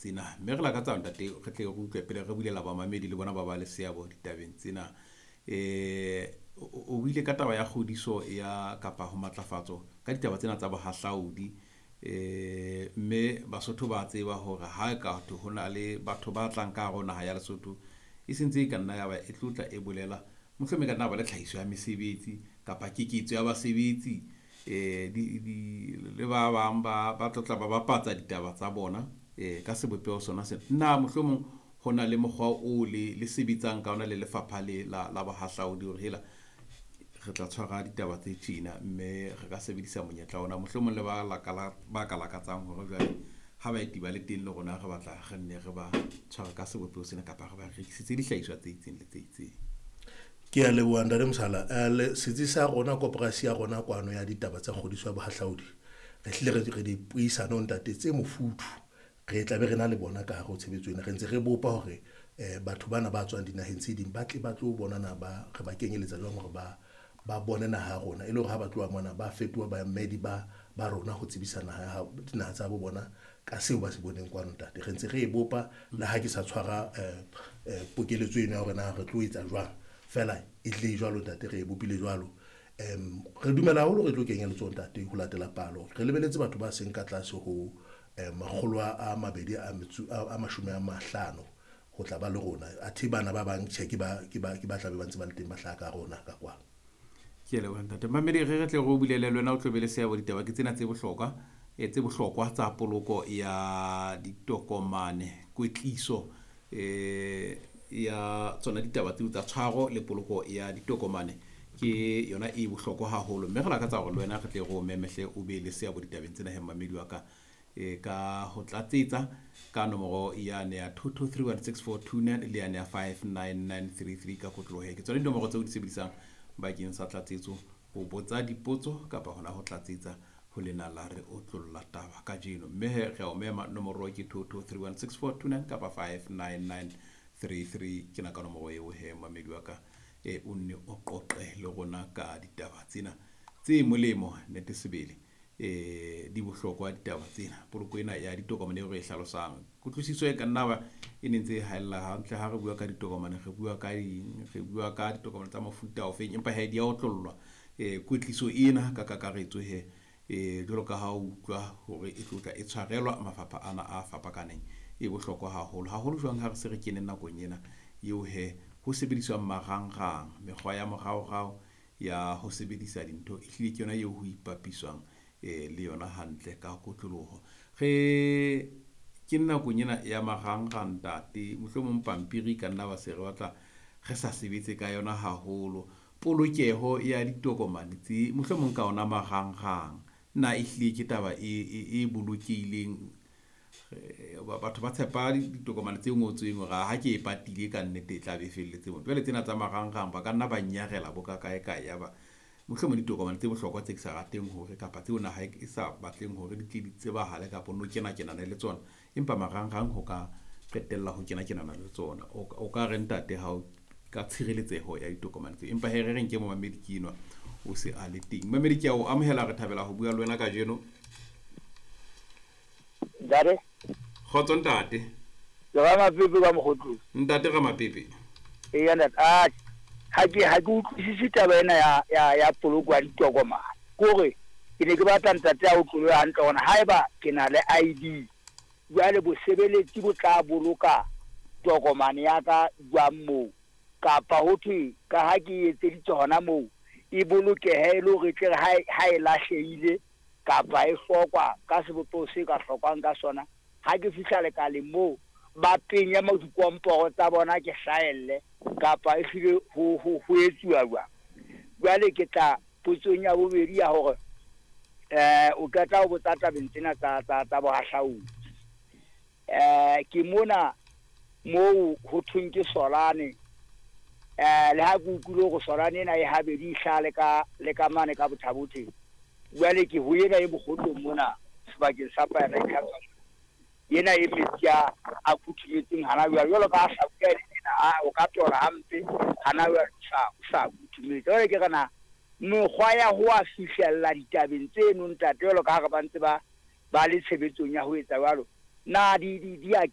tsena. Mme re lakatsa ntate re tle re utlwe pele re bulela bamamedi le bona ba ba le seabo ditabeng tsena. O buile ka taba ya kgodiso ya kapa ho matlafatso ka ditaba tsena tsa bohahlaudi. Mme Basotho ba tseba hore ha e ka thwe ho na le batho ba tlang ka hare ho naha ya Lesotho, e sentse e ka nna ya ba e tlotla e bolela mohlomong e ka nna ba le tlhahiso ya mesebetsi kapa keketso ya basebetsi le ba bang ba tlotla ba bapatsa ditaba tsa bona ka sebopeho sona sena. Na mohlomong ho na le mokgwa o le sebetsang ka ona le lefapha le la bohahlaudi hore hela re tla tshwara ditaba tse tjena, mme re ka sebedisa monyetla ona mohlomong le ba ka lakatsang hore jwale ha baeti ba le teng le rona re batla re nne re ba tshware ka sebopeho sena kapa re ba rekisetse dihlahiswa tse itseng le tse itseng. Ke a leboha Ntate Mosala. Setsi sa rona, koporasi ya rona kwano ya ditaba tsa kgodiso ya bohahlaudi, re hlile re dipuisano ntate tse mofuthu. Re tla be re na le bona ka hare ho tshebetso ena. Re ntse re bopa hore batho bana ba tswang dinaheng tse ding ba tle ba tlo bona na ba re ba kenyeletsa jwang hore ba bone naha ya rona, e le hore ha ba tloha mona ba fetoha baemedi ba rona ho tsebisa naha ya hao, dinaha tsa bo bona ka seo ba se boneng kwano ntate. Re ntse re e bopa le ha ke sa tshwara pokeletso eno ya hore na re tlo etsa jwang, fela e tle jwalo ntate, re e bopile jwalo. Re dumela haholo re tlo kenya letsoho ntate ho latela palo. Re lebeletse batho ba seng ka tlase ho makgolo a mabedi a metso a mashome a mahlano ho tla ba le rona. Athe bana ba bang tjhe, ke ba tlabe ba ntse ba le teng ba hlaha ka rona ka kwano. Ke a leboha ntate. Mamedi, re tle re o bulele le wena o tlo be le seabo. Ditaba ke tsena tse bohlokwa, tse bohlokwa tsa poloko ya ditokomane, kwetliso ya tsona ditaba tseo tsa tshwaro le poloko ya ditokomane ke yona e bohlokwa haholo. Mme re lakatsa hore le wena re tle re o memehle o be le seabo ditabeng tsena he mamedi wa ka, ka ho tlatsetsa ka nomoro yane ya 22316429 le yane ya 59933 ka kotloloho. Ke tsona dinomoro tseo di sebedisang bakeng sa tlatsetso ho botsa dipotso kapa hona ho tlatsetsa ho lena la re otlolla taba kajeno. Mme he re a o mema, nomoro ke 22316429 kapa 59933. Ke na ka nomoro eo he mamedi wa ka, o nne o qoqe le rona ka ditaba tsena tse molemo. Nnete sebele di bohlokwa ditaba tsena, poloko ena ya ditokomane eo re e hlalosang. Kutlwisiso e ka nna ba e ne ntse e haella hantle. Ha re bua ka ditokomane, re bua ka eng? Re bua ka ditokomane tsa mofuta ofeng? Empa he di a otlollwa kwetliso ena ka kakaretso he jwalo ka ha o utlwa hore e tlotla e tshwarelwa mafapha ana a fapakaneng, e bohlokwa haholo haholo jwang ha re se re kene nakong ena eo he ho sebediswang marangrang, mekgwa ya moraorao ya ho sebedisa dintho, ehlile ke yona eo ho ipapiswang le yona hantle ka kotloloho. Re ke nakong ena ya marangrang ntate, mohlomong pampiri ka nna ba se re batla re sa sebetse ka yona haholo. Polokeho ya ditokomane tse mohlomong ka ona marangrang na ehlile ke taba e bolokehileng? Batho ba tshepa ditokomane tse ngotsweng hore ha ke e patile ka nnete e tla be e felletse moo. Jwale tsena tsa marangrang ba ka nna ba nyarela bo ka kae kae, ya ba mohlomong ditokomane tse bohlokwa tse ke sa rateng hore kapa tseo naha e sa batleng hore di tle di tsebahale kapa no kena kenana le tsona, empa marangrang ho ka qetella ho kena kenana le tsona. O ka re ntate ha o ka tshireletseho ya ditokomane tseo? Empa he re reng ke momamedi ke enwa o se a le teng. Mamedi, ke a o amohela, re thabela ho bua le wena kajeno. Ntate. Kgotso ntate. Ke Ramapepe ka Mokgotlong. Ntate Ramapepe. Eya ntate, a ha ke utlwisise taba ena ya poloko ya ditokomane. Kore ke ne ke batla ntate a utlwe hantle hore haeba ke na le ID, jwale bosebeletsi bo tla boloka tokomane ya ka jwang moo? Kapa ho thwe ka ha ke etseditse hona moo, e bolokehe e le hore e tle re ha e lahlehile kapa e hlokwa ka sebopeho se ka hlokwang ka sona, ha ke fihla lekaleng moo ba penye mo dikomporo tsa bona ke hlahelle, kapa ehlile ho etsuwa jwang? Jwale ke tla potsong ya bobedi ya hore o qeta ho botsa tabeng tsena tsa bohahlaudi. Ke mona moo ho thweng ke Solane, le ha ke utlwile hore Solane ena e habedi, e hlaha le ka mane ka Bothabotheng. Jwale ke ho ena e Mokgotlong mona sebakeng sa Paradise ena e metsi a futhumetseng hana jwale, jwalo ka ha hlabula e le tjena, o ka tola hampe hana jwale o sa futhumetse. Jwale ke re na mekgwa ya ho a fihlella ditabeng tseno ntate, jwalo ka ha re ba ntse ba le tshebetsong ya ho etsa jwalo, na di a